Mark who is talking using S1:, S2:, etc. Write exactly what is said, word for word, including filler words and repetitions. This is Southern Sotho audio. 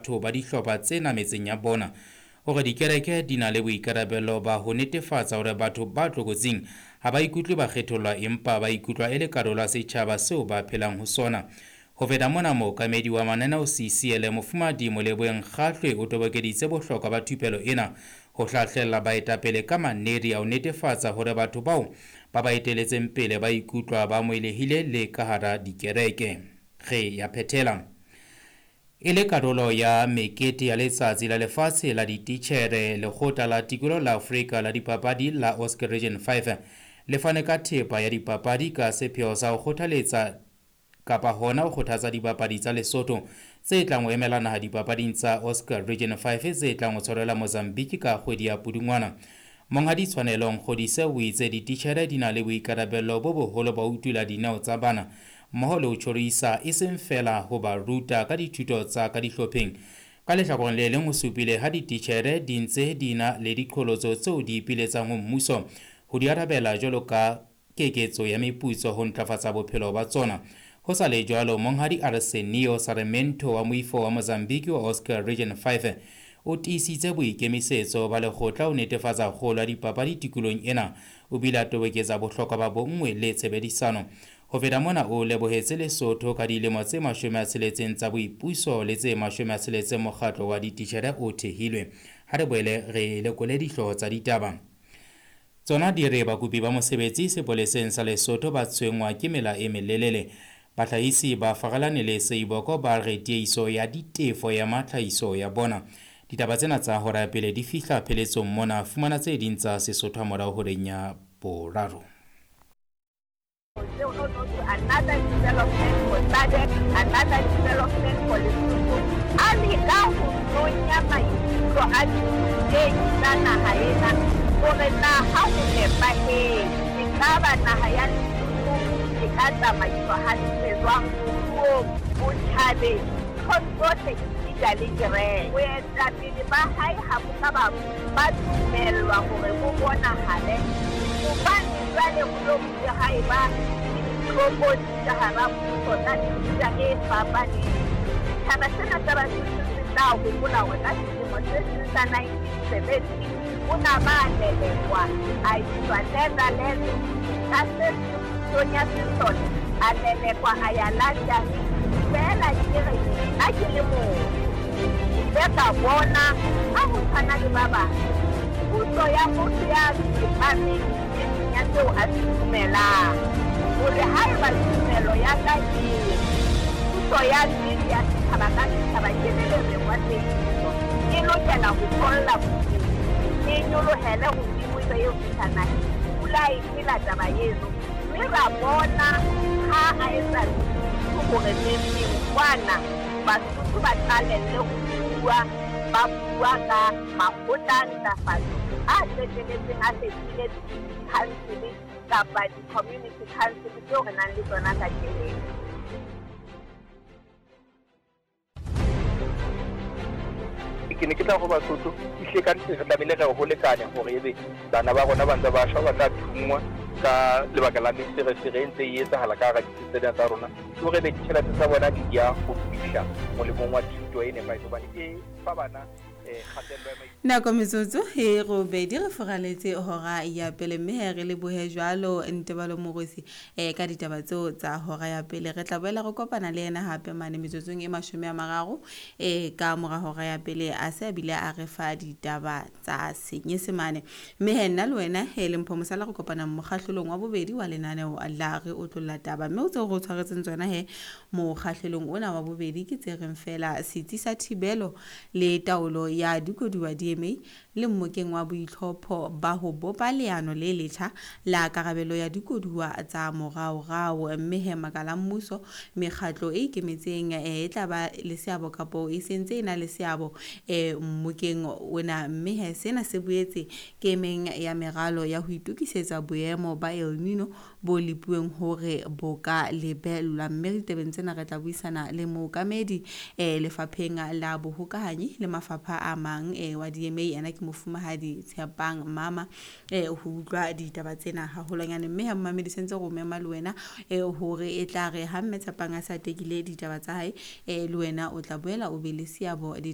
S1: Batho ba dihlopha tsena metseng ya bona. Hore dikereke di na le boikarabelo ba ho netefatsa hore batho ba tlokotsing ha ba ikutlwe ba kgethollwa empa ba ikutlwa e le karolo ya setjhaba seo ba phelang ho sona. Ho feta mona, mookamedi wa mananeo C C L Mofumahadi Moleboheng Kgahlwe o tobokeditse bohlokwa ba thupelo ena ho hlahlella baetapele ka maneri a ho netefatsa hore batho bao ba ba eteletseng pele ba ikutlwa ba amohelehile le ka hara dikereke. Re ya phethela. E le karolo ya mekete ya letsatsi la lefatshe la dititjhere, lekgotla la tikoloho la Afrika la dipapadi la Oscar Region five le fane ka thepa ya dipapadi ka sepheo sa ho kgothaletsa kapa hona ho kgothatsa dibapadi tsa Lesotho tse tlang ho emela naha dipapading tsa Oscar Region five tse tlang ho tshwarelwa Mozambique ka kgwedi ya Pudungwana. Monghadi Tshwanelo Nkgodise o itse dititjhere di na le boikarabelo bo boholo ba ho utula dineo tsa bana mmoho le ho tjhorisa e seng feela ho ba ruta ka dithuto tsa ka dihlopheng. Ka lehlakoreng le leng o supile ha dititjhere di ntse di na le diqholotso tseo di ipiletsang ho mmuso ho di arabela jwalo ka keketso ya meputso ho ntlafatsa bophelo ba tsona. Ho sa le jwalo, Monghadi Arsenio Sarmento wa moifo wa Mozambique wa Oscar Region five o tiisitse boikemisetso ba lekgotla ho netefatsa kgolo ya dipapadi tikolohong ena. O bile a toboketsa bohlokwa ba bonngwe le tshebedisano. Ho feta mona, o lebohetse Lesotho ka dilemo tse mashome a tsheletseng tsa boipuso le tse mashome a tsheletseng mokgatlo wa dititjhere o thehilwe. Ha re boele re lekole dihlooho tsa ditaba. Tsona di re bakopi ba mosebetsi sepoleseng sa Lesotho ba tshwenngwa ke mela e melelele. Bahlahisi ba farelane le Seiboko ba re tiehiso ya ditefo ya matlhahiso ya bona. Ditaba tsena tsa hora ya pele di fihla pheletsong mona. Fumana tse ding tsa Sesotho hamorao horeng ya boraro.
S2: Another development for S A D C, another development for Lesotho. A leka ho nonya maikutlo a dithutehi tsa naha ena hore na ha ho nepahetse, ekaba naha ya Lesotho e ka tsamaiswa hantle jwang moruong, botjhabeng, nthong tsohle esita le kereke. Boetapele ba hae ha bo ka ba ba dumellwa hore bo bonahale hobane jwale ho lo bile ha eba le ditlokotsi ka hara mmuso tsa mefuta e fapaneng. Setjhaba sena sa Basotho se tla hopola hore ka selemo se seng sa nineteen seventy o na ba lelekwa a iswa Netherlands, ka se seng pusong ya sesole a lelekwa a ya London. Feela ke re nna ke le motho, ke ile ka bona ha ho tshwana le ba bang puso ya motho ya tsepameng e seng ya seo a se dumelang, hore haeba tumelo ya ka e re puso ya nnete ya setjhaba ka setjhaba ke le lereng wa tsebiso e lokela ho tholla bodimo, e nyolohele hodimo ebe eo fihla naheng. Pula e phela taba eno, mme ra bona ha a etsa hore neng kwana Basotho ba qalelle ho bua, ba bua ka makgotla a ntlafatso a qetelletseng a fetohile di-council kapa di-community council tseo re nang le tsona kajeno.
S3: Ke ne ke tla ho Basotho, ehlile ka nnete re tlamehile re ho lekane hore ebe bana ba rona ba ntse ba shwa, ba tla thunngwa ka lebaka la meferefere e ntse e etsahala ka hara ditsi tsena tsa rona. Ke hore ebe ditjhelete tsa bona di ya ho fihla molemong wa thuto e nepahetseng hobane e fa bana, eh, kgatello ya maikutlo.
S4: Nako metsotso e robedi re furaletse hora ya pele, mme he re lebohe jwalo Ntebalo Morosi, eh, ka ditaba tseo tsa hora ya pele. Re tla boela re kopana le yena hape mane metsotsong e mashome a mararo, eh, ka mora hora ya pele a se a bile a re fa ditaba tsa Senyesemane. Mme he nna le wena he le Mpho Mosala re kopana mokgahlelong wa bobedi wa lenaneo la Re Otlolla Taba, mme o tseo re o tshwaretseng tsona he mokgahlelong ona wa bobedi ke tse reng feela setsi sa thibelo le taolo ya dikoduwa D M A le mmokeng wa boitlhopho ba ho bopa leano le letjha la karabelo ya dikoduwa tsa moraorao. Mme he makala a mmuso, mekgatlo e ikemetseng, eh, e tla ba le seabo kapo e sentse e na le seabo, eh, mmokeng ona. Mme he sena se boetse ke emeng ya meralo ya ho itokisetsa boemo ba El Nino bo lepuweng hore bo ka lebellwa. Mme ditabeng tsena re tla buisana le mookamedi, eh, lefapheng la bohokahanyi le mafapha a mang, eh, wa D M A, yena ke mofumahadi Tshepang Mama, eh, ho utlwa ditaba tsena haholwanyane. Mme ha mmamedi sentse re o mema le wena, eh, hore e tla re ha mme Tshepang a sa tekile ditaba tsa hae, eh, le wena o tla boela o be le seabo ditabeng